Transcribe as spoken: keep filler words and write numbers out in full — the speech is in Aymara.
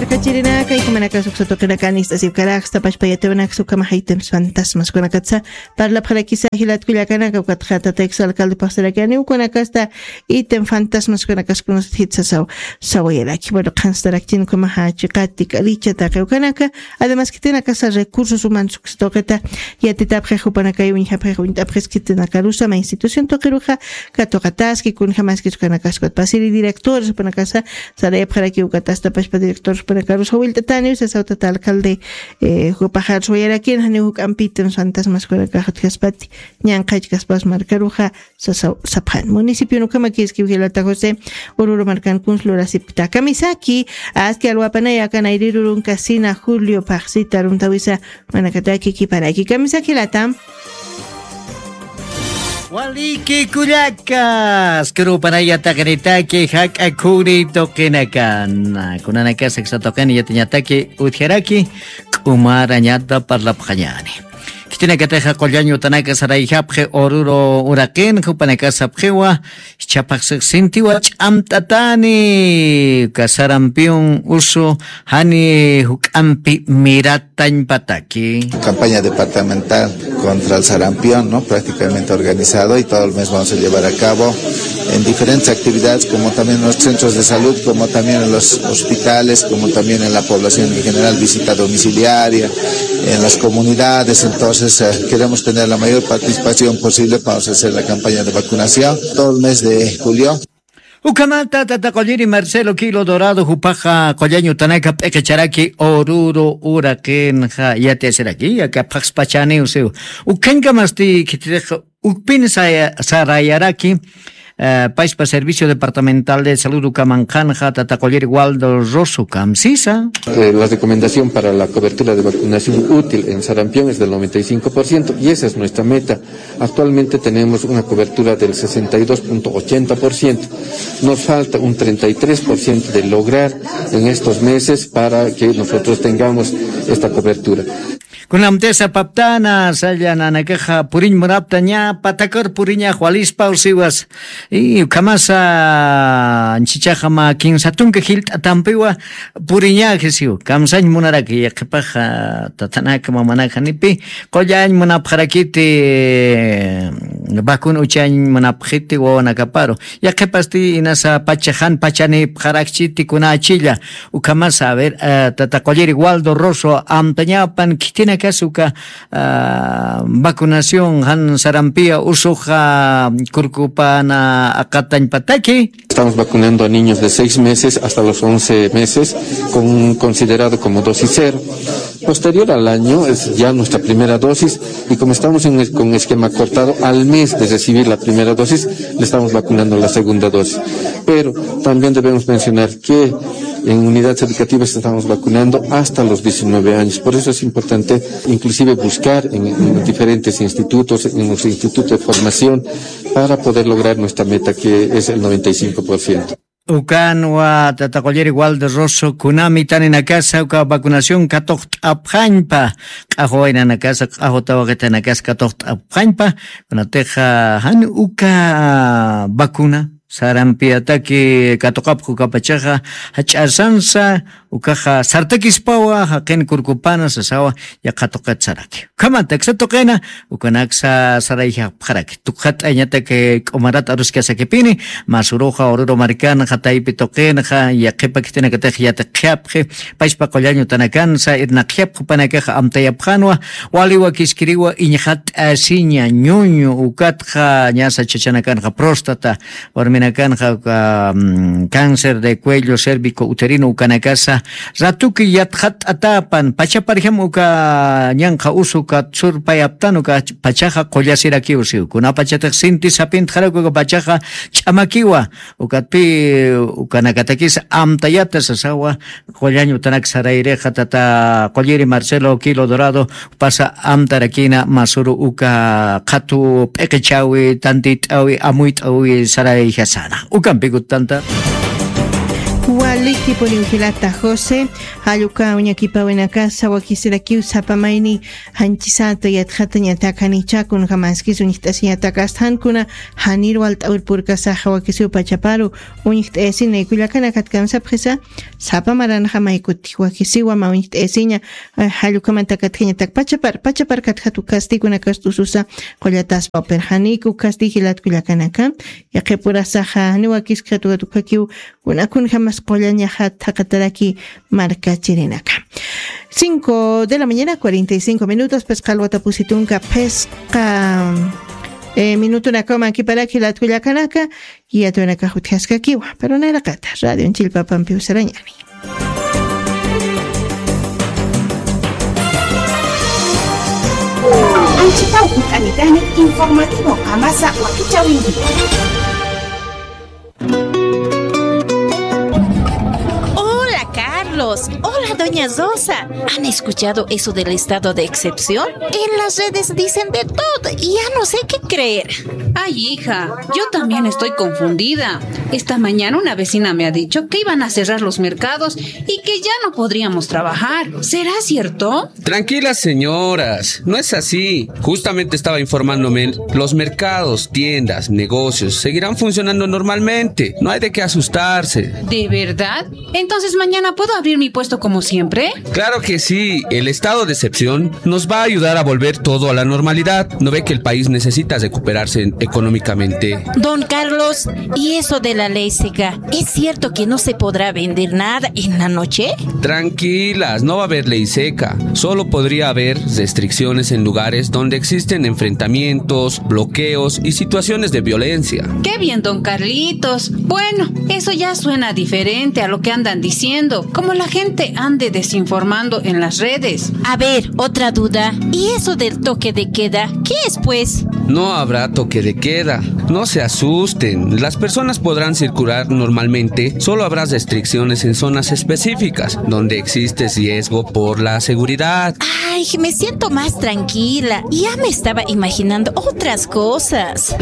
Markachirinaka, ikumanakasa uksa tuqinakani ist'asiwkaraksta pachpa yatiwanaksa ukhama jayt'anis fantasmaskunakatsa parlapxarakisa jilat kullakanaka, ukatxa tata exalcalde phaxsarakani ukunakasta item fantasmaskunakaskunasta jitsasaw sawayaraki. Bueno, qhanstarakchin ukhamaxa chiqati k'alicha taqi ukanaka. Además khitinakasa recursos humanos uksa tuqita yatitapxix jupanakay uñjapxix uñt'apxis khitinakarusa mä institución tuqiruxa katuqataski kunjamaskis ukanakaspat pasiri directores jupanakasa sarayapxaraki ukatasta pachpa directores jupanakarusa willt'ataniw sasaw tata alcalde. Jupaxar suwayarakin janiw juk'ampitan fantasmaskunakax utjaspati ñanqhachkaspas markaruxa sasaw sapxan municipio ukhamakiski ujilata josé. Ururu markan kuns lurasipkta kamisaki aski alwapanay akan ayrirurun kasina julio phaxsita runtawisa manakataki kiparaki kamisaki latam. Waliki kullakas kurupanaya taqinitaki jak'a khuri tuqinakan kunanakasa ksa tuqini yatiñataki utjaraki k'umarañata parlapxañani. Khitinakatixa qullañ utanaka sarayjapxi ururu uraqin jupanakasapxiwa jichhapaxsix sintiwa ch'amt'atani uka sarampion usu jani juk'ampi miratañpataki. Campaña departamental contra el sarampión, ¿no? Prácticamente organizado y todo el mes vamos a llevar a cabo en diferentes actividades, como también en los centros de salud, como también en los hospitales, como también en la población en general, visita domiciliaria, en las comunidades. Entonces, eh, queremos tener la mayor participación posible para hacer la campaña de vacunación todo el mes de julio. Ukhamata tata qulliri Marcelo Quilo Dorado jupaxa qullañ utanaka p'iqicharaki ururu uraqinxa yatiyasiraki yakapxaspachaniw siw. Ukhañkamasti khitirixa ukpin sarayaraki pachpa servicio departamental de salud ukamanqanxa tata qulliri Waldo Rosso kamsisa. La recomendación para la cobertura de vacunación útil en sarampión es del noventa y cinco por ciento y esa es nuestra meta. Actualmente tenemos una cobertura del sesenta y dos punto ochenta por ciento. Nos falta un treinta y tres por ciento de lograr en estos meses para que nosotros tengamos esta cobertura. Kunamtisa paptana saya nanakaxa puriñ munapta ña patakar puriñax walispa usiwas. Y ukhamasa anchichaxa mä kinsa tunka jilt'atampiwa puriñaxisiw kamsañ munaraki yaqhipaxa tatanaka mamanaka nipi qullañ munapxarakiti vacuna uchañ munapxiti wawanakaparu. Yaqhipasti inasa pachaxan pachanipxarakchiti kunachilla. Ukhamasa a ver tata qulliri Waldo Rosso amtañapan khitinakas uka vacunación jan sarampiya usuxa kurkupana aqatañpataki. Estamos vacunando a niños de seis meses hasta los once meses con un considerado como dosis cero. Posterior al año es ya nuestra primera dosis y como estamos en el- con esquema cortado, al mes de recibir la primera dosis le estamos vacunando la segunda dosis. Pero también debemos mencionar que en unidades educativas estamos vacunando hasta los diecinueve años. Por eso es importante inclusive buscar en, en diferentes institutos, en los institutos de formación, para poder lograr nuestra meta que es el noventa y cinco por ciento. Ukanwa tata qulliri Waldo Rosso kunami taninakasa uka vacunación katuqt'apxañpa q'axwa waynanakasa q'axwa tawaqitanakasa katuqt'apxañpa. Kunatixa jan uka vacuna sarampiyataki katuqapxa ukapachaxa jach'asansa ukaxa sartakispawa jaqin kurkupana sasawa. Yaqha tuqit saraki ukhamat aksa tuqina ukanaksa sarayjapxaraki tukxat'añatak k'umarat aruskasakipini. Masuruxa ururu markanxa taypi tuqinxa yaqhipa khitinakatix yatiqjapxi pachpa qullañ utanakansa irnaqjapxi jupanakaxa amtayapxanwa. Wali wakiskiriwa iñxat'asiña ñuñu ukatxa ñasa chachanakanxa próstata warminakanxa uka cáncer de cuello cérvico uterino ukanakasa ratuki yatxat'atapan pachaparjam uka ñanqha usu katsurpayaptan uka pachaxa qullasirakiw siw kunapachatix sinti sapintxarak uka pachaxa ch'amakiwa. Ukatpi ukanakatakis amtayata sasawa. Qullañ utanak sarayrixa tata qulliri Marcelo Quilo Dorado pasa amtarakina masuru uka qhatu p'iqichawi tantit'awi amuyt'awi sarayjasana ukampikut tanta. Likipuniw jilata José, jalluka uñakipawinakasa wakisirakiw sapa mayni janchisata yatxatañatak janicha kunjamaskis uñjt'asiñatak astjankuna janir walt'awir purkasaxa wakisiw pachaparu uñjt'ayasina kullakanakatkamsapxisa sapa maranjamaykutix wakisiwa ma uñjt'ayasiña. Jallukamantakatjañatak pachapar pachapar katjatu kastikunakas t'ususa qullataspa upirjaniku kasti jilat kullakanaka. Yaqipurasaxa janiwakiskxatukatukhakiw kunakunjamas qullañaxa thaqataraki markachirinaka. Cinco de la mañana cuarenta y cinco minutos phisqa alwata pusitunka phisqa minutunakaw mankiparaki latkullakanaka. Yatwanakax utjaskakiwa pero nayraqata radio chillpapampiw sarañani. Anchitaw ut'anitani informativo amasa wakichawinki. Hola, Carlos. Hola, doña Rosa. ¿Han escuchado eso del estado de excepción? En las redes dicen de todo y ya no sé qué creer. Ay, hija, yo también estoy confundida. Esta mañana una vecina me ha dicho que iban a cerrar los mercados y que ya no podríamos trabajar. ¿Será cierto? Tranquilas, señoras, no es así. Justamente estaba informándome, los mercados, tiendas, negocios seguirán funcionando normalmente. No hay de qué asustarse. ¿De verdad? ¿Entonces mañana puedo abrir mi puesto como siempre? Claro que sí, el estado de excepción nos va a ayudar a volver todo a la normalidad. ¿No ve que el país necesita recuperarse económicamente? Don Carlos, ¿y eso de la ley seca? ¿Es cierto que no se podrá vender nada en la noche? Tranquilas, no va a haber ley seca. Solo podría haber restricciones en lugares donde existen enfrentamientos, bloqueos y situaciones de violencia. Qué bien, don Carlitos. Bueno, eso ya suena diferente a lo que andan diciendo, como la gente ande desinformando en las redes. A ver, otra duda. ¿Y eso del toque de queda? ¿Qué es, pues? No habrá toque de queda. No se asusten. Las personas podrán circular normalmente. Solo habrá restricciones en zonas específicas donde existe riesgo por la seguridad. Ay, me siento más tranquila. Ya me estaba imaginando otras cosas.